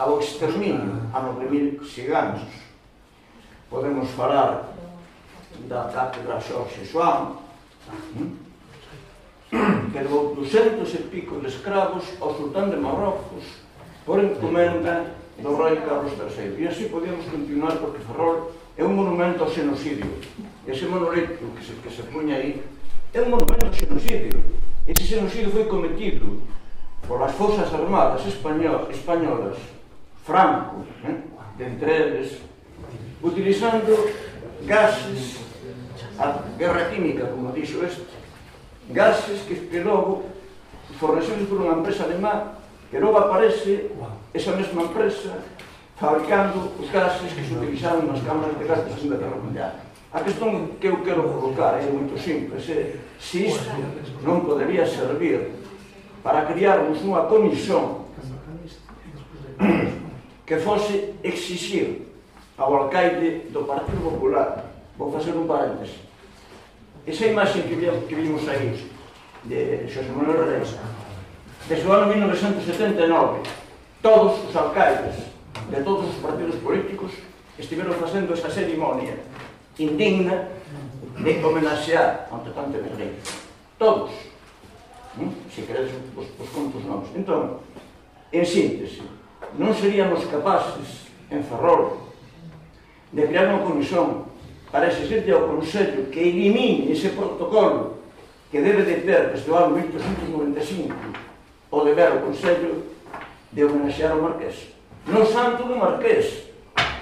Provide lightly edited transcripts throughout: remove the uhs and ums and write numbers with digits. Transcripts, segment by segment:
ao exterminio a 9.000 ciganos. Podemos falar da cátedra Xorxe Xoán, que levou 200 e pico de escravos ao sultán de Marrocos por encomenda do rei Carlos III. E así podíamos continuar, porque Ferrol é un monumento ao xenocidio. Ese monolito que se puña aí é un monumento ao xenocidio. Ese xenocidio foi cometido polas Fosas Armadas españolas, Franco, entre eles, utilizando gases, a guerra química, como dixo este, gases que logo fornecidos por unha empresa alemá, que logo aparece esa mesma empresa fabricando os gases que se utilizaron nas cámaras de gas da Segunda Guerra Mundial. A questón que eu quero colocar é moito simples, se isto non podería servir para criarmos unha comisión que fose exixir ao alcaide do Partido Popular. Vou facer un paréntese. Esa imaxe que vimos aí de Xosé Manuel Reis, desde o ano 1979, todos os alcaides de todos os partidos políticos estiveron facendo esa cerimonia indigna de homenaxear ante tanto guerreiro. Todos. Se queredes, os conto os nomes. Entón, en síntese, non seríamos capaces, en Ferrol, de crear unha comisión para exigirte ao Consello que elimine ese protocolo que debe de ter desde o ano 1895 o deber ao Consello de homenaxear o Marqués. No Santo do Marqués,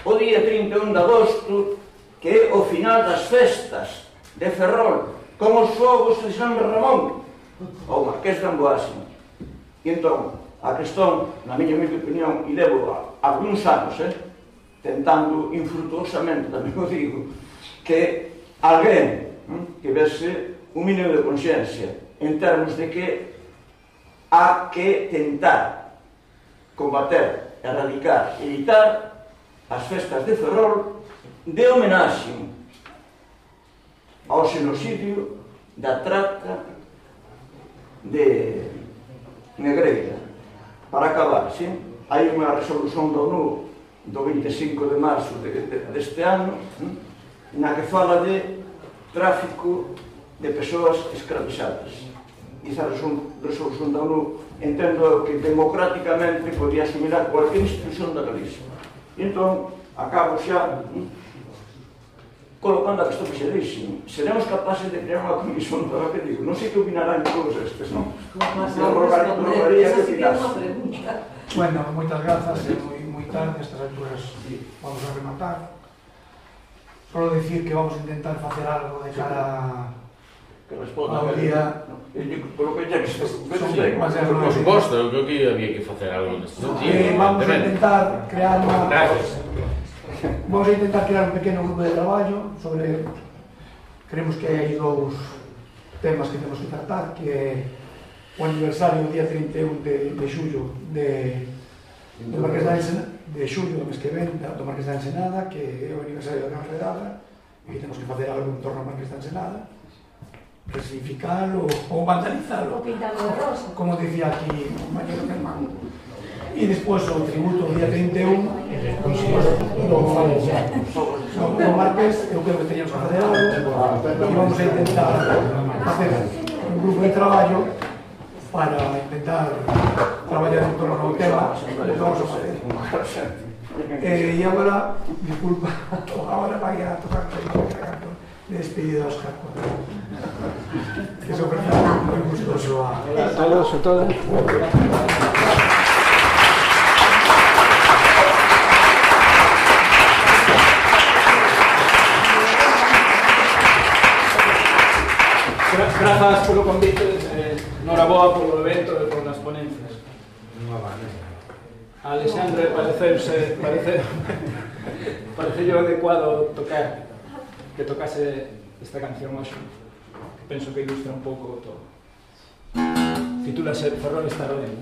o día 31 de agosto, que é o final das festas de Ferrol, como os fogos de San Ramón, ao Marqués de Amboase. E entón, a questón, na miña opinión, e levo algúns anos, tentando infrutuosamente, tamén o digo, que alguén tivese un mínimo de consciencia en termos de que há que tentar combater, erradicar, evitar as festas de Ferrol de homenaxe ao xenocidio da trata de negreira. Para acabar, hai unha resolución da ONU do 25 de marzo deste ano, na que fala de tráfico de persoas escravizadas. E esa resolución da ONU entendo que democráticamente podía asimilar cualquier institución da Galicia. E entón, acabo xa colocando a questón que se dixe. Seremos capaces de crear unha comisión para que digo. Non sei que opinarán todos estes, non? Rogaría que opinase. Bueno, moitas grazas, moi tarde, estas alturas vamos a rematar. Solo dicir que vamos a intentar facer algo de cara ao día. Por que xa que se por suposto, eu creo que había que facer algo neste sentido. Vamos a intentar crear un pequeno grupo de traballo sobre, creemos que hai dous temas que temos que tratar, que é o aniversario do día 31 de xullo do Marqués da Ensenada, de xullo do mes que ven, do Marqués da Ensenada, que é o aniversario da Gran Redada, e que temos que facer algo en torno ao Marqués da Ensenada, resignificalo ou vandalizalo, como dicía aquí o compañero Germán. E despois o tributo do día 31 do Marqués. Eu creo que teníamos que facer algo e vamos a intentar facer un grupo de traballo para intentar traballar en torno ao tema que vamos a facer. E agora, disculpa, agora vai a tocar de despedida aos Oscar, que se ofrece moi gustoso a todos e todas. Grazas polo convite, noraboa polo evento e polas ponencias. A Alexandre pareceu adecuado que tocase esta canción hoxe. Penso que ilustra un pouco todo. Titúlase Ferrol está ben.